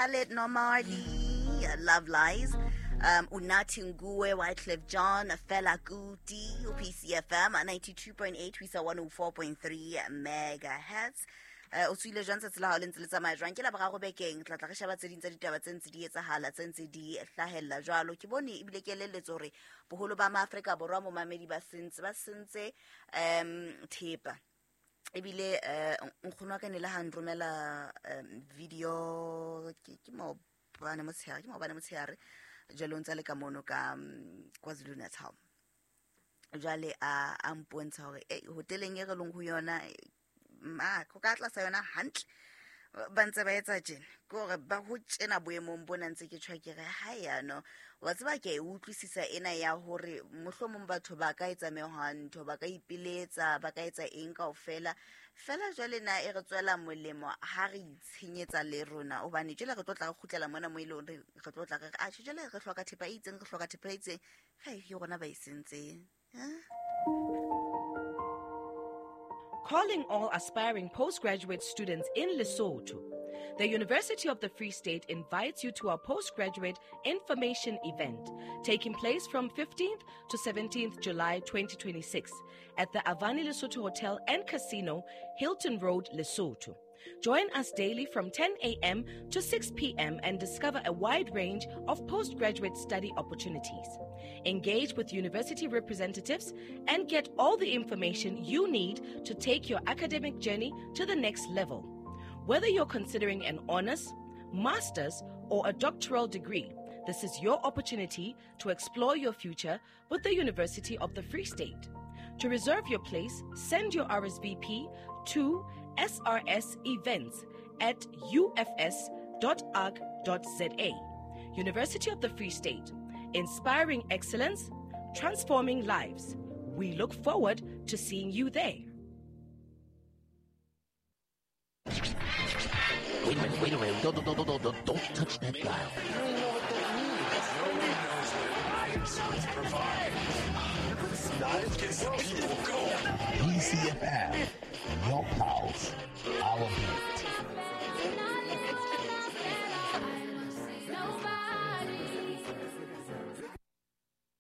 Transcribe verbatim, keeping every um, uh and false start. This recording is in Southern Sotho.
Khaled Nomali, Love Lies, um Unathi Nguwe, Wyclef Jean, Fela Kuti, P C F M ninety-two point eight, we saw one oh four point three megahertz. O tswile jwang tsatsi la hao le ntse le tsamaya jwang? Ke la boraro bekeng, tla tla re sheba tse ding tsa ditaba tse ntse di etsahala, tse ntse di hlahella jwalo. Ke bone ebile ke elelletswe hore boholo ba Maafrika Borwa momamedi ba sentse, ba sentse um thepa. Ebile eh nkgono wa ka ne le ha nromela video ke ke maobane motshehare, ke maobane motshehare jwale o ntse le ka mono ka KwaZulu Natal. Jwale a a mpontsha hore eh hoteleng e re leng ho yona ma ko ka tlasa yona hantle ba ntse ba etsa tjena, ke hore ba ho tjena boemong bona ntse ke tjho ke re ha yano wa tseba ke e utlwisisa ena ya hore mohlomong batho ba ka etsa mehwanto, ba ka ipiletsa, ba ka etsa eng kaofela fela. Jwale na e re tswela molemo ha re itshenyetsa le rona, hobane jwale re tlo tla re kgutlela mona mo e leng re tlo tla re a tjhe jwale re hloka thepa e itseng, re hloka thepa e itseng, ha e rona ba e sentseng. Calling all aspiring postgraduate students in Lesotho. The University of the Free State invites you to our postgraduate information event taking place from fifteenth to seventeenth July twenty twenty-six at the Avani Lesotho Hotel and Casino, Hilton Road, Lesotho. Join us daily from ten a.m. to six p.m. and discover a wide range of postgraduate study opportunities. Engage with university representatives and get all the information you need to take your academic journey to the next level. Whether you're considering an honors, master's, or a doctoral degree, this is your opportunity to explore your future with the University of the Free State. To reserve your place, send your R S V P to S R S events at U F S dot org dot Z A. University of the Free State, inspiring excellence, transforming lives. We look forward to seeing you there. Wait a minute, wait a minute. Don't, don't, don't, don't, don't, don't touch that dial. P C F M, your power.